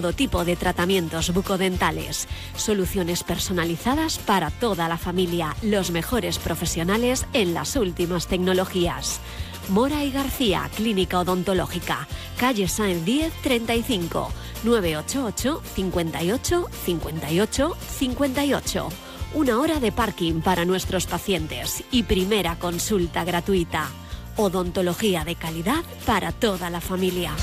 Todo tipo de tratamientos bucodentales, soluciones personalizadas para toda la familia, los mejores profesionales en las últimas tecnologías. Mora y García, Clínica Odontológica, calle Sáenz 10 35, 988 58 58 58. 1 hora de parking para nuestros pacientes y primera consulta gratuita. Odontología de calidad para toda la familia.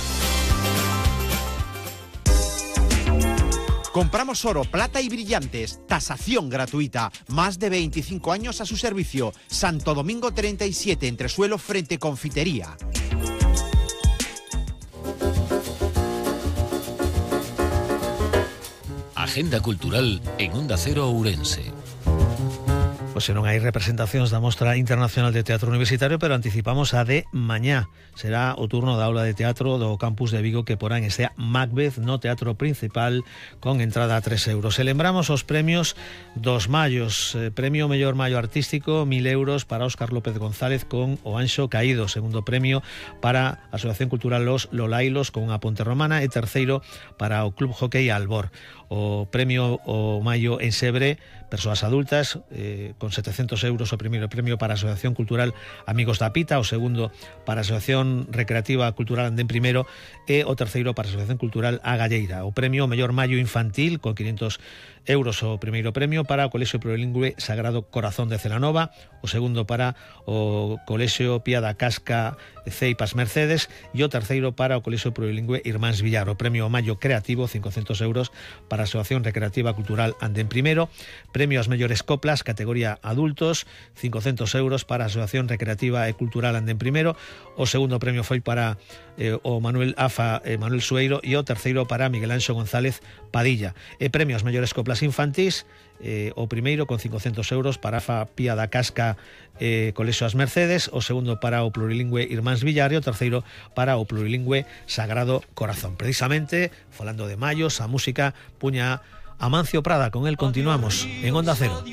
Compramos oro, plata y brillantes. Tasación gratuita. Más de 25 años a su servicio. Santo Domingo 37, Entresuelo, frente Confitería. Agenda cultural en Onda Cero Ourense. Pois se non hai representacións da Mostra Internacional de Teatro Universitario, pero anticipamos a de mañá. Será o turno da aula de teatro do campus de Vigo que porán este Macbeth no teatro principal con entrada a 3 euros. E lembramos os premios dos mallos. Premio Mellor Mallo Artístico, 1.000 euros para Óscar López González con O Anxo Caído. Segundo premio para a Asociación Cultural Los Lolailos con a Ponte Romana. E terceiro para o Club Hockey Albor. O premio O Mallo en Sebre, persoas adultas, con 700 euros o primeiro premio para a Asociación Cultural Amigos da Pita, o segundo para a Asociación Recreativa Cultural Andén Primeiro e o terceiro para a Asociación Cultural A Galleira. O premio Mellor Mallo Infantil con 500 euros o primeiro premio para o Colexio Plurilingüe Sagrado Corazón de Celanova, o segundo para o Colexio Pía da Casca Ceipas Mercedes e o terceiro para o Colexio Plurilingüe Irmáns Villar. O premio Mallo Creativo, 500 euros para a Asociación Recreativa Cultural Andén Primeiro. Premio ás mellores coplas, categoría adultos, 500 euros para a Asociación Recreativa e Cultural Andén Primeiro. O segundo premio foi para o Manuel Afa Manuel Sueiro e o terceiro para Miguel Anxo González Padilla. E premio ás mellores coplas infantís, o primeiro con 500 euros para Afa Pía da Casca Colexio As Mercedes, o segundo para o Plurilingüe Irmáns Villar e o terceiro para o Plurilingüe Sagrado Corazón. Precisamente, falando de mallos, a música puña Amancio Prada, con él continuamos en Onda Cero.